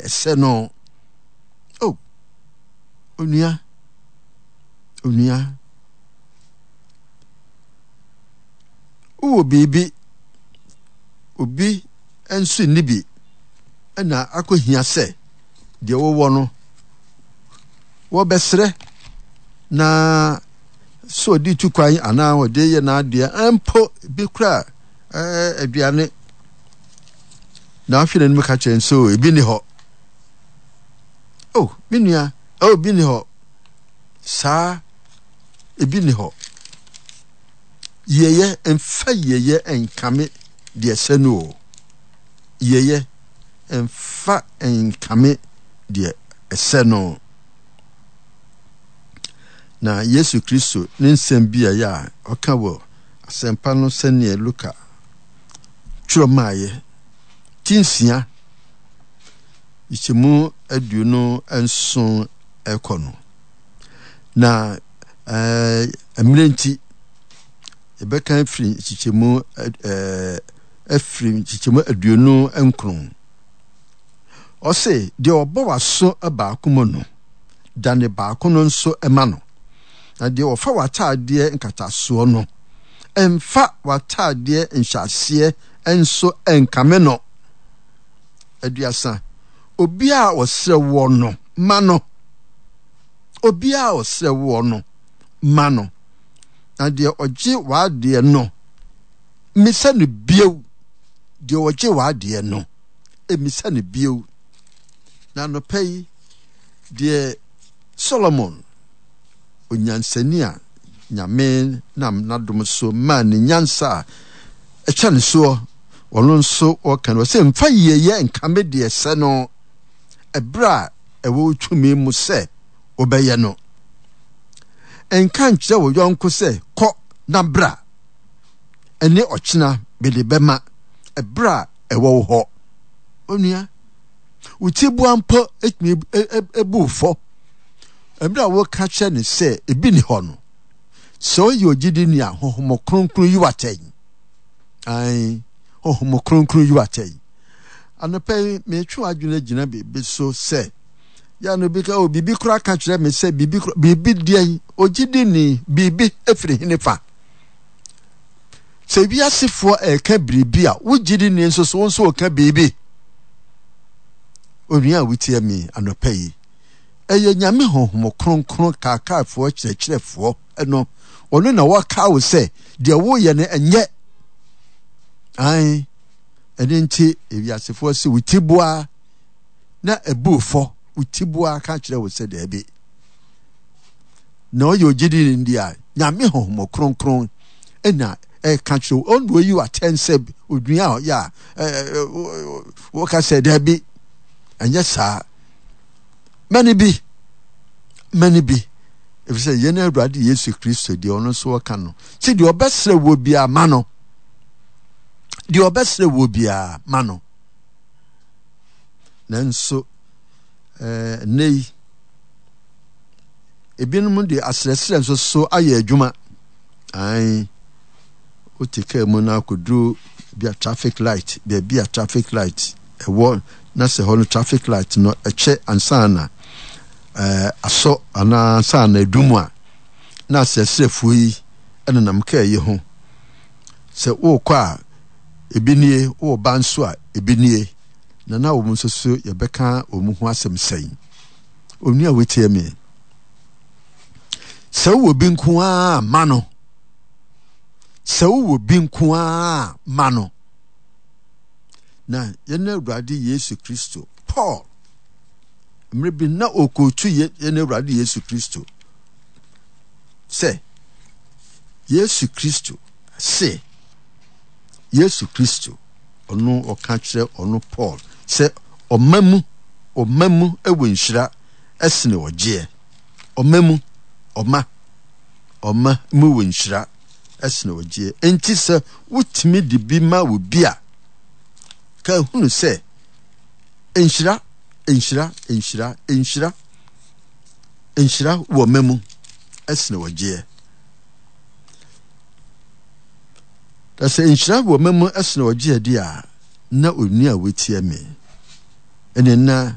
ɛsɛ no. Oh, onua, onua, wowɔ biribi, obi nso nni bi, ɛna akɔhia sɛ deɛ wowɔ no wɔbɛsrɛ na sɛ ɔde tu kwan anaa ɔde yɛ n'adeɛ mpo bi kora aduane na ahwɛ n'anim ka kyerɛ nso ebi ni hɔ. Oh, me nua, oh, ebi ni hɔ. Saa ebi ni hɔ. Yieyɛ mfa yieyɛ nkame deɛ ɛsɛ no o. Yieyɛ mfa nkame deɛ ɛsɛ no. Na Yesu Kristo ne nsɛm bi a ɛyɛ a ɔka wɔ Asɛmpa no sɛdeɛ Luka twerɛ maeɛ, ti 6, nkyɛmu 27 ɛkɔ no. Na ɛɛ mmerɛ nti, yɛbɛka afiri nkyekyɛmu ɛɛ afiri nkyekyɛmu 29. Ɔse, deɛ ɔbɔ w'aso baako mu no, dane baako no nso ma no. Na deɛ ɔfa w'ataadeɛ nkatasoɔ no, mfa w'ataadeɛ nhyɛaseɛ nso nkame no. 30. Obiara a ɔsrɛ woɔ no, ma no. Obiara a ɔsrɛ woɔ no, ma no. Na deɛ ɔgye w'adeɛ no, mmisa no bio. Deɛ ɔgye w'adeɛ no, mmisa no bio. Na anɔpa yi, deɛ Solomon, onyansani a Nyame nam n'adom so maa ne nyansa a ɛkyɛne soɔ, ɔno nso ɔka no, ɔsɛ mfa yieyɛ nkame deɛ ɛsɛ no, ɛberɛ a ɛwɔ wo tumi mu sɛ wobɛyɛ no. Nka nkyerɛ wo yɔnko sɛ, Kɔ na bra, ɛne ɔkyena mede bɛma, ɛberɛ a ɛwɔ wo hɔ. Onua, wo tiboa mpo tumi bu wo fɔ mmerɛ a woka kyerɛ no sɛ ebi ni hɔ no. Sɛ ɔyɛ ogyidini a, Honhom Kronkron yi wo atɛn. Ae, Honhom Kronkron yi wo atɛn. Anɔpa yi, metwe w'adwene agyina biribi so sɛ, yɛ no bi ka, o, biribi koraa ka kyerɛ me sɛ biribi koraa, biribi deɛn, ogyidini, biribi efiri hene fa. Sɛ wiasefoɔ ɛreka biribi a, wo gyidini nso so, wo nso ɔka biribi. Onua a wotie me anɔpa yi, ɛyɛ Nyame Honhom Kronkron kaakaefoɔ kyerɛkyerɛfoɔ no, ɔno na wɔka wo sɛ deɛ woyɛ no ɛnyɛ. Ae, ɛno nti ewiasefoɔ se wo ti boa na ɛbu fɔ, wo ti boa ka kyerɛ wo sɛ daabi. Na ɔyɛ ogyidini ndi a, Nyame Honhom Kronkron na ɛka kyerɛ wo, ɔno oyi atɛn sɛ onua a ɔyɛ a wɔka sɛ daabi, ɛnyɛ saa. Mɛne bi, mɛne bi, efisɛ yɛn Awurade Yesu Kristo deɛ ɔno nso ɔka no, sɛ deɛ ɔbɛsrɛ wɔ biara ma no, deɛ ɔbɛsrɛ wɔ biara ma no. Nanso ɛɛ nnɛ yi, ebinom de asrɛsrɛ nso so ayɛ adwuma. Ae, wote kaa mu na akɔduru bi a traffic light, baabi a traffic light ɛwɔ na sɛ hɔ no traffic light no ɛkyɛ ansa na ɛɛ asɔ anaa ansa na adum a, na asrɛsrɛfoɔ yi ɛnenam kaa yi ho. Sɛ wokɔ a ebi nie, woba nso a ebi nie. Na na wɔn nso so yɛbɛka wɔn ho asɛm sɛn? Onua a wotie me, sɛ wowɔ bi nko ara ma no. Sɛ wowɔ bi nko ara ma no. Na yɛn Awurade Yesu Kristo, Paul, mmerɛ bi na ɔkɔtu yɛn Awurade Yesu Kristo sɛ Yesu Kristo se, Yesu Kristo, ɔno ɔka kyerɛ ɔno Paul sɛ ɔma mu, ɔma mu wɔ nhyira ɛsene ɔgyeɛ. Ɔma mu, ɔma, ɔma mu wɔ nhyira ɛsene ɔgyeɛ. Enti sɛ wotumi de bi ma obi a, ka hunu sɛ nhyira, nhyira, nhyira, nhyira, nhyira wɔ ɔma mu ɛsene ɔgyeɛ. Na sɛ nhyira wɔ ɔma mu ɛsene ɔgyeɛ deɛ a, na onua a wotia me ɛne na.